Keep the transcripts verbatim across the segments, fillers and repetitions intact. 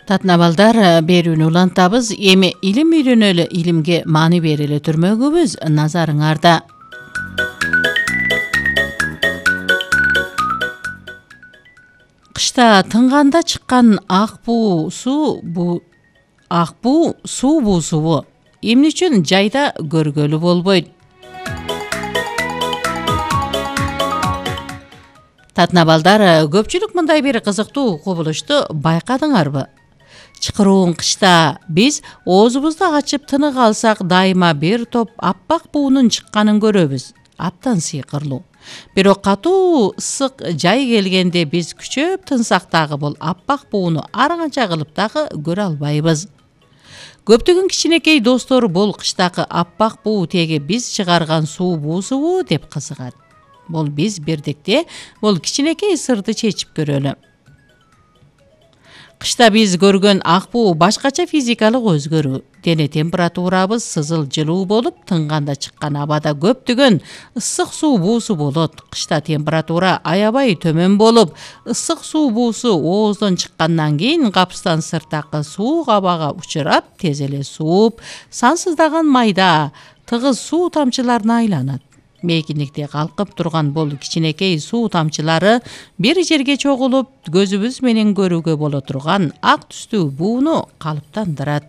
Татына балдар, берүүнү улантабыз. Эми илим үйрөнөлү, илимге маани берели түрмөгүбүз назарыңарда. Кышта тынганда чыккан ак буу суу бу ак буу суу буусубу эмне үчүн жайда көргөлү болбойт? Татына балдар, көпчүлүк мындай бир кызыктуу кубулушту байкадыңарбы? Чыкыруун кышта биз оозубузду ачып тынык алсак, дайыма бир топ аппак буунун чыкканын көрөбүз. Абдан сыйкырлуу. Бирок катуу ысык жай келгенде биз күчөп тынсак дагы бул аппак бууну ар канча кылып дагы көрө албайбыз. Көптөгөн кичинекей достор бул кыштагы аппак буу теги биз чыгарган суу буусубу деп кызыгат. Бул биз бирдикте бул кичинекей сырды чечип көрөлү. Кышта биз көргөн ак буу башкача физикалык өзгөрүү. Дене температурабыз сызыл жылуу болуп, тынганда чыккан абада көптөгөн ысык суу буусу болот. Кышта температура аябай төмөн болуп, ысык суу буусу ооздон чыккандан кийин капыстан сырттагы суук абага учурап, тез эле сууп, сансыздаган майда, тыгыз суу тамчыларына айланат. Мейкиндикте калкып турган бул кичинекей суу тамчылары бир жерге чогулуп, көзүбүз менен көрүүгө боло турган ак түстүү бууну калыптандырат.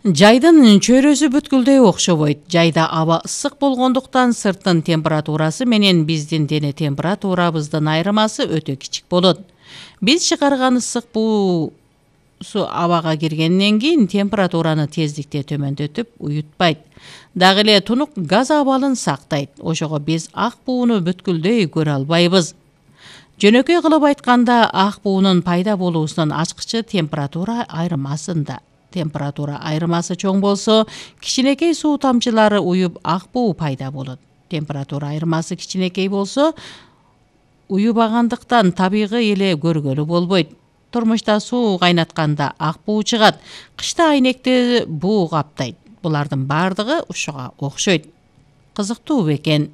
Жайдын чөйрөсү бүткүлдөй окшобойт. Жайда аба ысык болгондуктан сырттын температурасы менен биздин дене температурабыздын айырмасы өтө кичик болот. Биз чыгарган ысык буу суу абага киргенден кийин температураны тездикте төмөндөтүп уютпайт. Дагы эле тунук газ абалын сактайт. Ошого биз ак бууну бүткүлдөй көрө албайбыз. Жөнөкөй кылып айтканда, ак буунун пайда болуусунун ачкычы температура айырмасында. Температура айырмасы чоң болсо, кичинекей суу тамчылары уюп ак буу пайда болот. Температура айырмасы кичинекей болсо, уюбагандыктан табигый эле көргөлү болбойт. Турмушта суу кайнатканда ак буу чыгат. Кышта айнекти буу каптайт. Булардын бардыгы ушуга окшойт. Кызыктуу бекен.